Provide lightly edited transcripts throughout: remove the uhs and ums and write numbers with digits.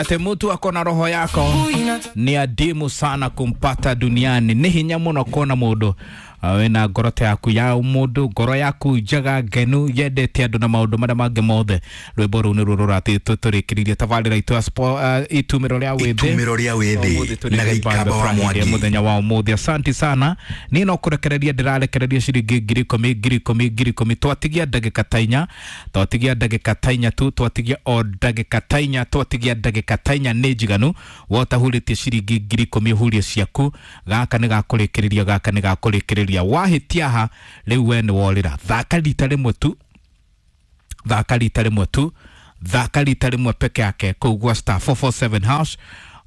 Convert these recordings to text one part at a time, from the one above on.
Ate mtu ako na roho yako ni adimu sana kumpata duniani. Nĩ hinya mũno kuona mũndũ wĩna ngoro ta yaku ya mũndũ, ngoro yaku njega ngenu yendete andũ na maũndũ marĩa mangĩ mothe. Rwĩmbo rũu nĩruo rũratũrĩkĩrĩirie tabarĩra itũ ya itumĩro rĩa wĩthĩ. Itumĩro rĩa wĩthĩ na Gĩikamba wa Mwangi. Mũthenya wa ũmũthĩ. Asanti sana. Niĩ no kũrekereria ndĩrarekereria ciringi 10,000 10,000 10,000. Twatigia ndagĩka ta inya, twatigia ndagĩka ta inya tu, twatigia o ndagĩka ta inya, twatigia ndagĩka ta inya nĩ njiganu. Wotahurĩtie ciringi 10,000 hurie ciaku. Gaka nĩ gakũrĩkĩrĩria, gaka nĩ gakũrĩkĩrĩria. Wahĩtia ha rĩu we nĩ worĩra. Thaka rita rĩmwe tu, thaka rita rĩmwe tu, thaka rita rĩmwe peke yake kũu gwa star 447 hash.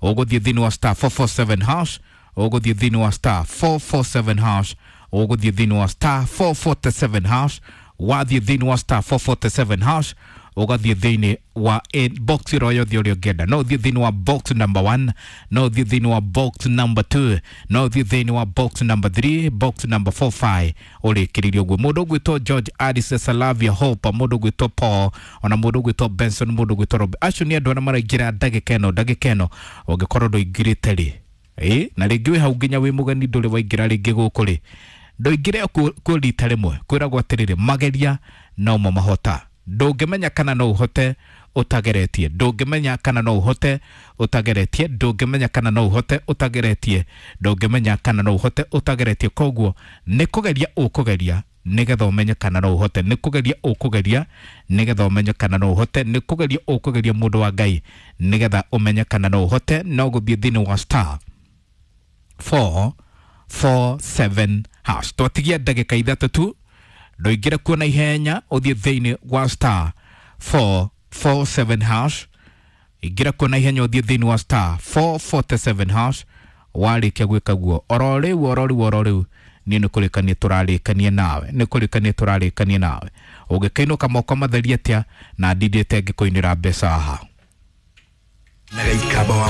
Ũgũthiĩ thĩinĩ wa star 447 hash, ũgũthiĩ thĩinĩ wa star 447 hash, ũgũthiĩ thĩinĩ wa star 447 hash. Wathiĩ thĩinĩ wa star 447 hash, ũgathiĩ thĩinĩ wa box ĩro yothe ũrĩa ũngĩenda. No ũthiĩ thĩinĩ wa box number 1, no ũthiĩ thĩinĩ wa box number 2, no ũthiĩ thĩinĩ wa box number 3, box number 4 5, ũrĩkĩrĩrie ũguo. Mũndũ ũgwĩtwo George Addis, Salavia Hope, mũndũ ũgwĩtwo Paul, ona mũndũ ũgwĩtwo Benson, mũndũ ũgwĩtwo Rob, acio nĩ andũ arĩa maraingĩra ndagĩka ĩno. Ndagĩka ĩno ũngĩkorwo ndũingĩrĩte rĩ, ĩ na rĩngĩ wĩ hau nginya wĩ mũgeni ndũrĩ waingĩra rĩngĩ gũkũ rĩ, ndũingĩre kuo rita rĩmwe. Kwĩragwo atĩrĩrĩ, mageria no mo mahota. Ndũngĩmenya kana no ũhote ũtageretie, ndũngĩmenya kana no ũhote ũtageretie, ndũngĩmenya kana no ũhote ũtageretie, ndũngĩmenya kana no ũhote ũtageretie. Koguo nĩ kũgeria ũkũgeria nĩgetha ũmenye kana no ũhote, nĩ kũgeria ũkũgeria nĩgetha ũmenye kana no ũhote, nĩ kũgeria ũkũgeria mũndũ wa Ngai nĩgetha ũmenye kana no ũhote. No gũthiĩ thĩinĩ wa star 4 4 7 hash. Twatigia ndagĩka ithatũ tu, ndũingĩre kuo na ihenya, ũthiĩ thĩinĩ wa star 4 4 7 hash. Ingĩra kuo na ihenya, ũthiĩ thĩinĩ wa star 447 hash. Warĩkia gwĩka guo oro rĩu, oro rĩu, oro rĩu, niĩ nĩ kũrĩkania tũrarĩkania nawe, nĩ kũrĩkania tũrarĩkania nawe. Ũngĩkainũka moko matheri atĩa na ndindĩte ngĩkũinĩra mbeca haha. Na Gĩikamba wa